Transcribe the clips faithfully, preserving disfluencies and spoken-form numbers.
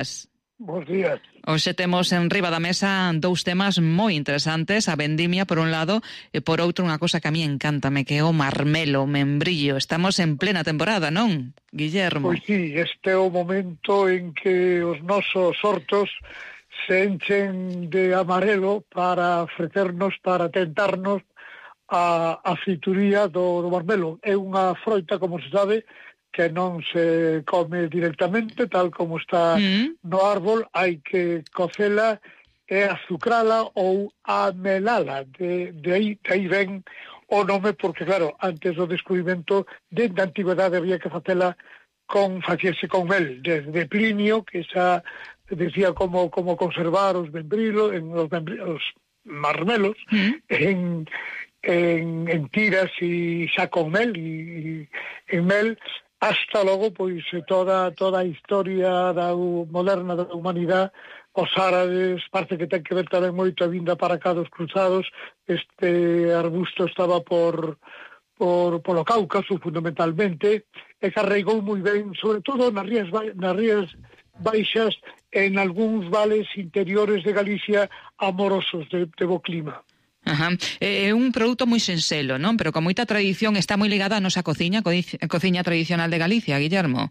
días. Bos días. Hoxe temos en riba da mesa dous temas moi interesantes, a vendimia por un lado e por outro unha cosa que a mí encántame, que é o marmelo, o membrillo. Estamos en plena temporada, non, Guillermo? Pois sí, este é o momento en que os nosos hortos se enchen de amarelo para ofrecernos, para tentarnos a, a frituría do, do marmelo. É unha froita, como se sabe, que non se come directamente, tal como está mm. no árbol, hai que cocela e azucrala ou amelala. De, de, aí, de aí ven o nome, porque claro, antes do descubrimento, dende a antigüedade había que facela con, facirse con mel, desde Plinio, que xa decía como, como conservar os membrilos, en os, membrilos, os marmelos, mm. en, en, en tiras e xa con mel, e, e en mel, hasta logo, pois, toda toda a historia da moderna da humanidade, os árabes, parece que ten que ver tamén moito a vinda para cá dos cruzados. Este arbusto estaba por, por polo Cáucaso, fundamentalmente, e que arraigou moi ben, sobre todo nas rías, nas rías baixas, en algúns vales interiores de Galicia amorosos de, de bo clima. Ajá. É un produto moi sinxelo, non? Pero con moita tradición, está moi ligada a nosa cociña, a cociña tradicional de Galicia, Guillermo.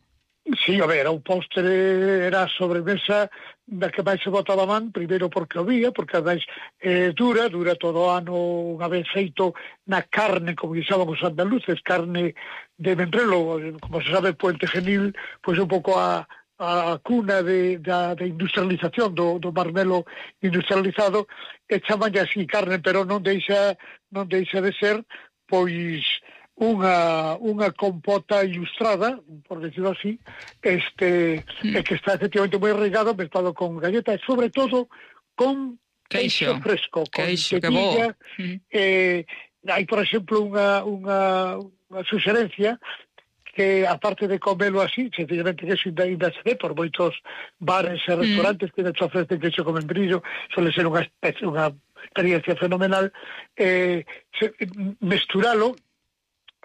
Sí, a ver, o postre era a sobremesa da que máis se botaba man, primeiro porque o vía, porque ademais eh, dura, dura todo o ano, unha vez feito na carne, como dixaban os andaluces, carne de membrelo, como se sabe, Puente Genil, pois un pouco a a cuna de, da, de industrialización do, do marmelo industrializado, e chaman así carne, pero non deixa non deixa de ser pois unha unha compota ilustrada, por decirlo así, este mm. que está efectivamente moi arraigado, mezclado con galleta e sobre todo con queixo, queixo fresco, queixo, con tetilla. Mm. Eh, hai, por exemplo, unha unha unha suxerencia que, aparte de comelo así, sencillamente que eso ainda se ve por moitos bares e restaurantes mm. que te ofrecen queixo con membrillo, suele ser unha especie, unha experiencia fenomenal, eh, se, mesturalo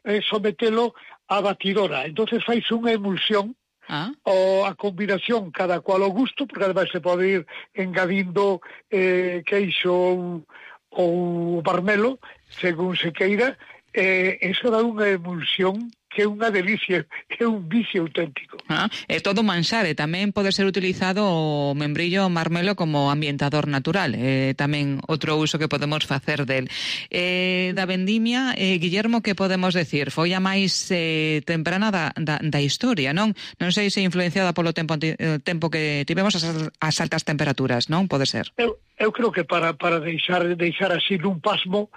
e eh, sometelo a batidora, entonces fais unha emulsión, ah. ou a combinación cada cual ao gusto, porque ademais se pode ir engadindo eh, queixo ou, ou marmelo, según se queira, eh, eso dá unha emulsión que é unha delicia, que é un vicio auténtico. Ah, é todo manxar, e tamén pode ser utilizado o membrillo o marmelo como ambientador natural, é tamén outro uso que podemos facer del. Eh, da vendimia, eh, Guillermo, que podemos decir? Foi a máis eh, temprana da, da, da historia, non? Non sei se influenciada polo tempo, eh, tempo que tivemos as, as altas temperaturas, non? Pode ser. Eu, eu creo que para, para deixar, deixar así nun pasmo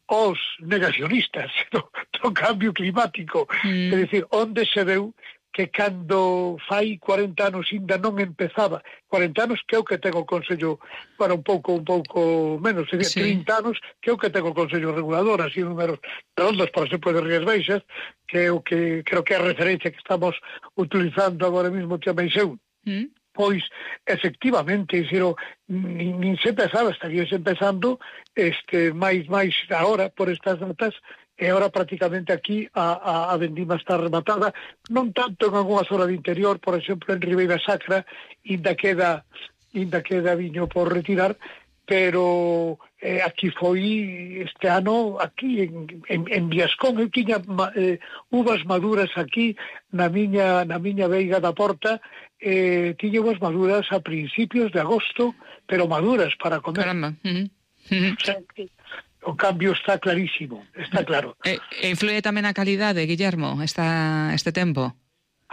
os negacionistas do, do cambio climático. Mm. É dicir, onde se veu que cando fai cuarenta anos ainda non empezaba, cuarenta anos que é o que ten o Consello, para un pouco un pouco menos, sería sí. trinta anos que é o que ten o Consello Regulador, así números redondos, por exemplo, de Rías Baixas, que é o que creo que é a referencia que estamos utilizando agora mesmo, que Meixeu. Mm. Pois, efectivamente, xero, nin, nin se empezaba, estaríase empezando este, máis, máis agora, por estas datas, e agora prácticamente aquí a, a, a vendima está rematada, non tanto en algunha zona de interior, por exemplo, en Ribeira Sacra, inda queda, inda queda viño por retirar, pero eh, aquí foi este ano, aquí en, en, en Viascón, eu tiña eh, uvas maduras aquí na miña, na miña veiga da Porta, eh, tiña uvas maduras a principios de agosto, pero maduras para comer. Caramba. Uh-huh. Uh-huh. O sea, que o cambio está clarísimo, está claro. E, e influye tamén a calidade, Guillermo, esta, este tempo?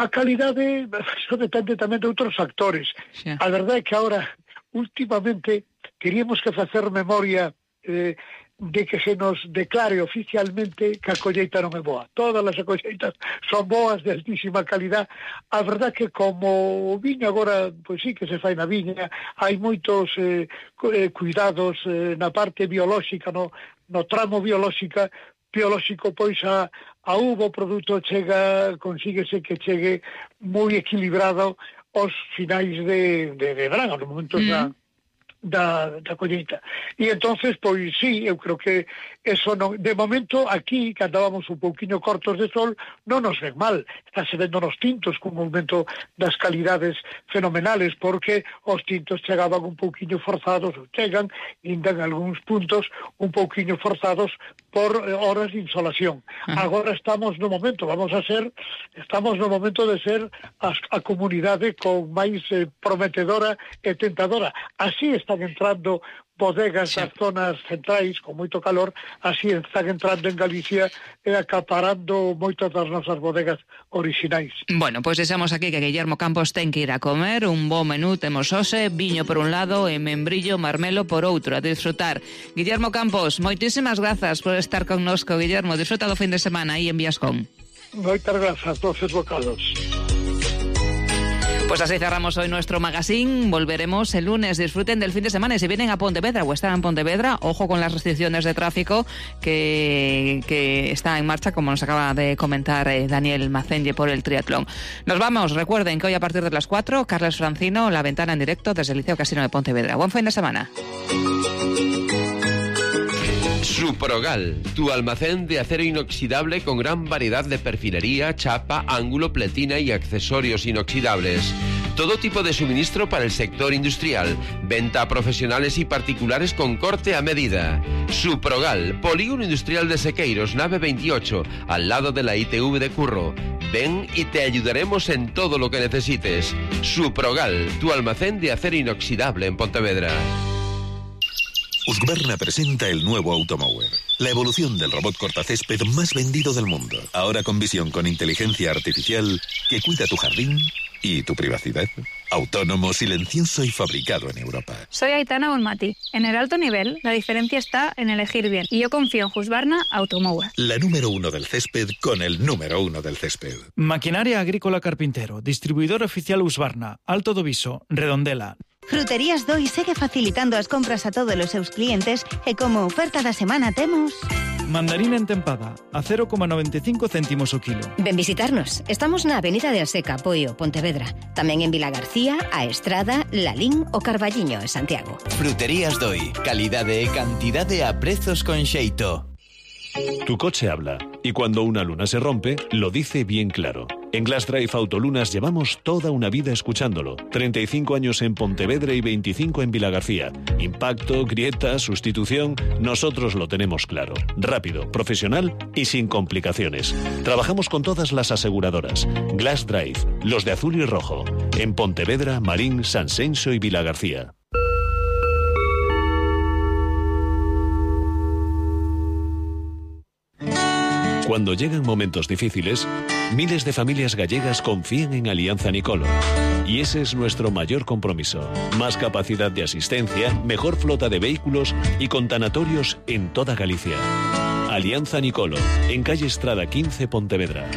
A calidade, eso depende tamén de outros factores. Sí. A verdade é que ahora, últimamente, queríamos que facer memoria eh, de que se nos declare oficialmente que a colleita non é boa. Todas as colleitas son boas, de altísima calidad. A verdad que como o viño agora, pois sí que se fai na viña, hai moitos eh, cuidados eh, na parte biolóxica, no, no tramo biolóxica, biolóxico, pois a, a uva, o produto chega, consíguese que chegue moi equilibrado aos finais de, de, de verano, no momentos mm. da da, da colleita. E entonces, pois sí, eu creo que eso non, de momento aquí, que andábamos un pouquiño cortos de sol, non nos ven mal. Estáse vendo nos tintos con un aumento das calidades fenomenales, porque os tintos chegaban un pouquiño forzados, ou chegan, ainda en algúns puntos, un pouquiño forzados por horas de insolación. Uh-huh. Agora estamos no momento, vamos a ser, estamos no momento de ser a, a comunidade con máis eh, prometedora e tentadora. Así están entrando bodegas sí. das zonas centrais con moito calor, así están entrando en Galicia e acaparando moitas das nosas bodegas orixinais. Bueno, pois pues deixamos aquí que Guillermo Campos ten que ir a comer, un bo menú temos hoxe, viño por un lado e membrillo, marmelo por outro, a disfrutar. Guillermo Campos, moitísimas grazas por estar connosco, Guillermo, disfruta do fin de semana aí en Viascón. Moitas grazas, doces bocados. Pues así cerramos hoy nuestro magazine. Volveremos el lunes. Disfruten del fin de semana. Y si vienen a Pontevedra o están en Pontevedra, ojo con las restricciones de tráfico que, que está en marcha, como nos acaba de comentar eh, Daniel Macenge por el triatlón. Nos vamos. Recuerden que hoy a partir de las cuatro, Carles Francino, La Ventana en directo desde el Liceo Casino de Pontevedra. Buen fin de semana. Suprogal, tu almacén de acero inoxidable con gran variedad de perfilería, chapa, ángulo, pletina y accesorios inoxidables. Todo tipo de suministro para el sector industrial. Venta a profesionales y particulares con corte a medida. Suprogal, Polígono Industrial de Sequeiros, nave veintiocho, al lado de la I T V de Curro. Ven y te ayudaremos en todo lo que necesites. Suprogal, tu almacén de acero inoxidable en Pontevedra. Husqvarna presenta el nuevo Automower, la evolución del robot cortacésped más vendido del mundo. Ahora con visión con inteligencia artificial que cuida tu jardín y tu privacidad. Autónomo, silencioso y fabricado en Europa. Soy Aitana Bonmati. En el alto nivel, la diferencia está en elegir bien. Y yo confío en Husqvarna Automower. La número uno del césped con el número uno del césped. Maquinaria Agrícola Carpintero. Distribuidor oficial Husqvarna. Alto do Viso. Redondela. Fruterías Doi segue facilitando as compras a todos os seus clientes e como oferta da semana temos... Mandarina entempada, a cero coma noventa e cinco céntimos o kilo. Ven visitarnos. Estamos na Avenida de Aseca, Poio, Pontevedra. Tamén en Vila García, A Estrada, Lalín o Carballiño, en Santiago. Fruterías Doi. Calidade e cantidade a prezos con xeito. Tu coche habla, y cuando una luna se rompe, lo dice bien claro. En Glass Drive Autolunas llevamos toda una vida escuchándolo. treinta y cinco años en Pontevedra y veinticinco en Vilagarcía. Impacto, grieta, sustitución, nosotros lo tenemos claro. Rápido, profesional y sin complicaciones. Trabajamos con todas las aseguradoras. Glass Drive, los de azul y rojo. En Pontevedra, Marín, Sanxenxo y Vilagarcía. Cuando llegan momentos difíciles, miles de familias gallegas confían en Alianza Nicolo. Y ese es nuestro mayor compromiso. Más capacidad de asistencia, mejor flota de vehículos y con tanatorios en toda Galicia. Alianza Nicolo, en calle Estrada quince, Pontevedra.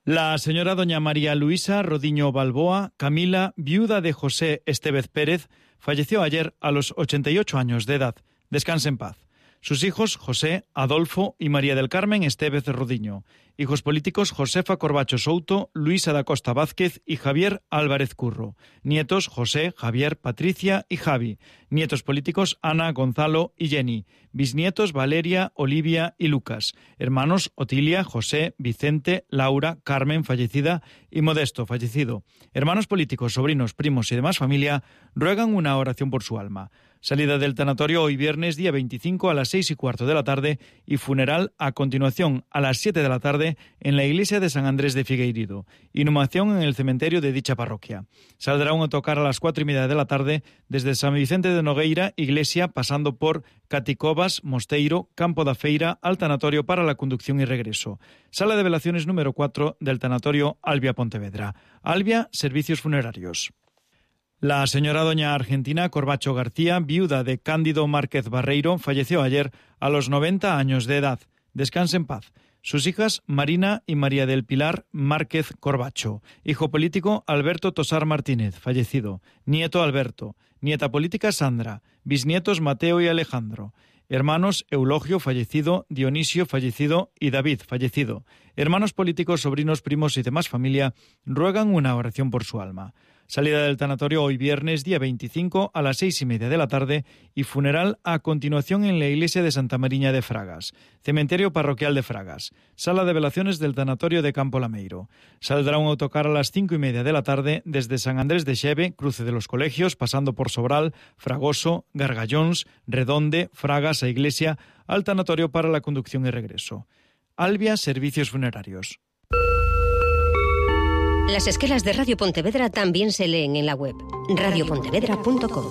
La señora doña María Luisa Rodiño Balboa, Camila, viuda de José Estevez Pérez, falleció ayer a los ochenta y ocho años de edad. Descanse en paz. Sus hijos, José, Adolfo y María del Carmen Estevez Rodiño. Hijos políticos, Josefa Corbacho Souto, Luisa da Costa Vázquez y Javier Álvarez Curro. Nietos, José, Javier, Patricia y Javi. Nietos políticos, Ana, Gonzalo y Jenny. Bisnietos, Valeria, Olivia y Lucas. Hermanos, Otilia, José, Vicente, Laura, Carmen, fallecida, y Modesto, fallecido. Hermanos políticos, sobrinos, primos y demás familia ruegan una oración por su alma. Salida del tanatorio hoy viernes, día veinticinco, a las seis y cuarto de la tarde, y funeral a continuación a las siete de la tarde en la iglesia de San Andrés de Figueiredo. Inhumación en el cementerio de dicha parroquia. Saldrá un autocar a las cuatro y media de la tarde desde San Vicente de Nogueira, iglesia, pasando por Caticovas, Mosteiro, Campo da Feira, al tanatorio para la conducción y regreso. Sala de velaciones número cuatro del tanatorio Albia Pontevedra. Albia, servicios funerarios. La señora doña Argentina Corbacho García, viuda de Cándido Márquez Barreiro, falleció ayer a los noventa años de edad. Descanse en paz. Sus hijas Marina y María del Pilar Márquez Corbacho. Hijo político Alberto Tosar Martínez, fallecido. Nieto Alberto. Nieta política Sandra. Bisnietos Mateo y Alejandro. Hermanos Eulogio, fallecido, Dionisio, fallecido, y David, fallecido. Hermanos políticos, sobrinos, primos y demás familia ruegan una oración por su alma. Salida del tanatorio hoy viernes, día veinticinco, a las seis y media de la tarde y funeral a continuación en la iglesia de Santa Mariña de Fragas. Cementerio parroquial de Fragas. Sala de velaciones del tanatorio de Campo Lameiro. Saldrá un autocar a las cinco y media de la tarde desde San Andrés de Xeve, cruce de los colegios, pasando por Sobral, Fragoso, Gargallóns, Redonde, Fragas a Iglesia, al tanatorio para la conducción y regreso. Albia Servicios Funerarios. Las esquelas de Radio Pontevedra también se leen en la web radio pontevedra punto com.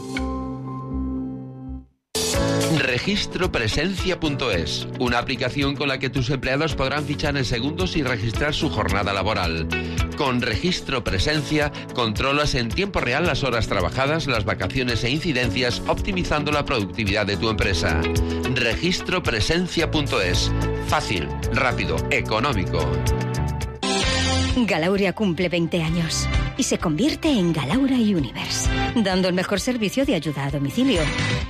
Registropresencia punto es, una aplicación con la que tus empleados podrán fichar en segundos y registrar su jornada laboral. Con Registro Presencia controlas en tiempo real las horas trabajadas, las vacaciones e incidencias, optimizando la productividad de tu empresa. Registropresencia punto es, fácil, rápido, económico. Galauria cumple veinte años y se convierte en Galaura Universe, dando el mejor servicio de ayuda a domicilio.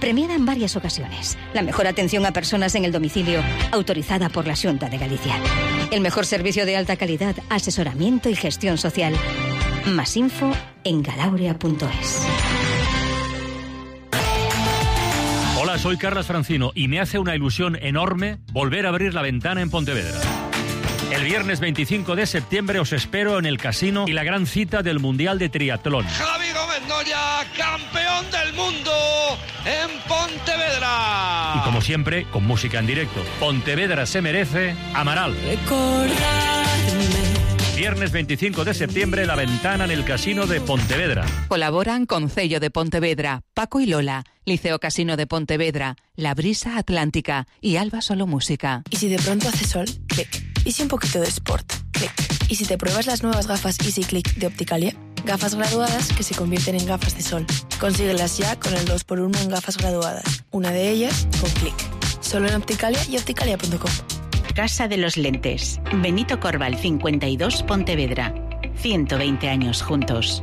Premiada en varias ocasiones. La mejor atención a personas en el domicilio, autorizada por la Xunta de Galicia. El mejor servicio de alta calidad, asesoramiento y gestión social. Más info en galauria punto es. Hola, soy Carlos Francino y me hace una ilusión enorme volver a abrir La Ventana en Pontevedra. El viernes veinticinco de septiembre os espero en el casino y la gran cita del Mundial de Triatlón. Javi Gómez Noya, campeón del mundo en Pontevedra. Y como siempre, con música en directo. Pontevedra se merece Amaral. Recordarme. Viernes veinticinco de septiembre, La Ventana en el Casino de Pontevedra. Colaboran Concello de Pontevedra, Paco y Lola, Liceo Casino de Pontevedra, La Brisa Atlántica y Alba Solo Música. ¿Y si de pronto hace sol? Clic. ¿Y si un poquito de sport? Clic. ¿Y si te pruebas las nuevas gafas Easy Click de Opticalia? Gafas graduadas que se convierten en gafas de sol. Consíguelas ya con el dos por uno en gafas graduadas. Una de ellas con Clic. Solo en Opticalia y opticalia punto com. Casa de los Lentes. Benito Corval cincuenta y dos, Pontevedra. ciento veinte años juntos.